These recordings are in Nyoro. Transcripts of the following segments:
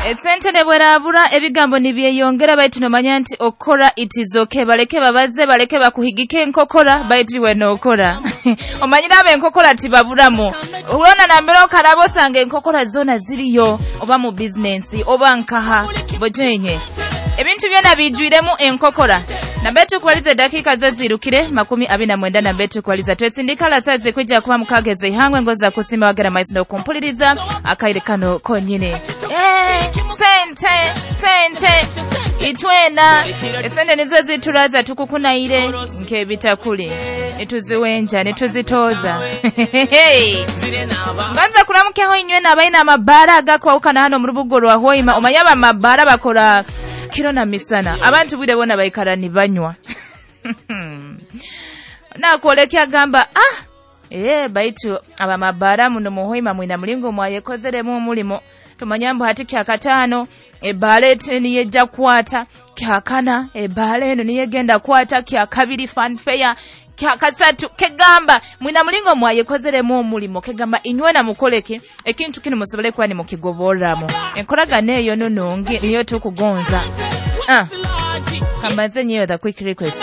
Esente nebwerabura, ebigambo nibyeyongera, baitu nomanya nti okora it is okay. Baleke babaze, baleke bakuhigike enkokora, baitu iwe nokora. Omanyire abo enkokora tibaburamu. Urona nambere okaraba osanga enkokora zona ziriyo, oba mu bizinensi oba nkaha bojenye ebintu byona bijwiremu enkokora. Nambe tukubaliza edakiika zo zirukire 29, nambe tukubaliza twesindika lasazi kwijja kuba mukageze ihangwe ngoza kusima wagera maiso n'okumpuliriza akaire kano konyine. Sente sente itwena esente nizo zituraza tukukunaire nk'ebitakuli, nituziwenja nituzitoza. Nganza kuramukeho inywena abaina amabara agakwawukana hano mu rubugo rwa Hoima. Omanye abamabara bakora kiro na misana, abantu bwire bona baikara nibanywa. Nakwolekya agamba baitu abamabara muno mu Hoima mwina mulingo mwayekozeremu omulimo. Tumanya mbu hati kyakataano ebbaala eti niyejja kukwata, kyakana ebbaala eno niyegenda kukwata, kyakabiri fanfare, kyakasatu. Kegamba mwina mulingo mwayekozeremu omulimo, kegamba inywena mukoleke ekintu kino musobole kuba nimukigoborramu. Enkoragana eyo nunungi niyo tukugonza. Kambaze nyeyo the quick request.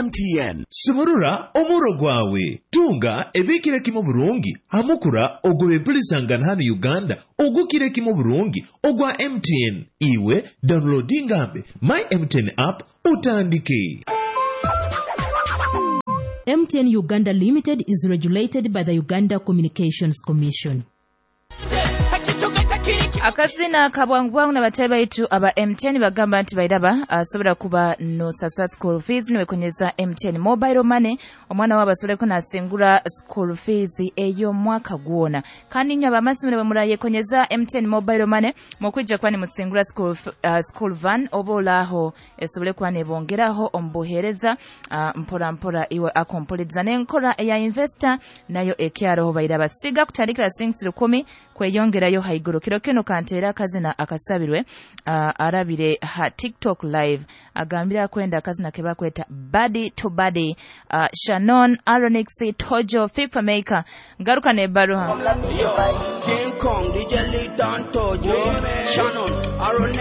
MTN sumurura omuro gwawe, tunga ebikire kimu burungi hamukura ogwo bempulisangana hano Uganda ogukire kimu burungi ogwa MTN. Iwe downloadingambe my MTN app utandike. MTN Uganda Limited is regulated by the Uganda Communications Commission. Akazina kabwangu na batayi baitu aba MTN bagamba nti bairaba asobora kuba nosasula school fees niwekonyeza MTN mobile money, omwana wabo asobole nasingura school fees ey'omwaka gwona. Kandi inywe abamasomero bwe murayekonyeza MTN mobile money mukwijja kuba nimusingura school van oba olaho esobole kuba nebongeraho omubuheereza mpora mpora iwe akompoliza n'enkora eya investor nayo ekyaroho bairaba siga kutandikira 6 kweyongerayo haiguru. Kiro kino kantera akazina akasabirwe arabire ha TikTok live agambira akwenda akazina ke bakweta body to body. Shannon Aronix Tojo FIFA Maker ngaruka nebaruha. King Kong DJ Lee Don Tojo Shannon Aronix.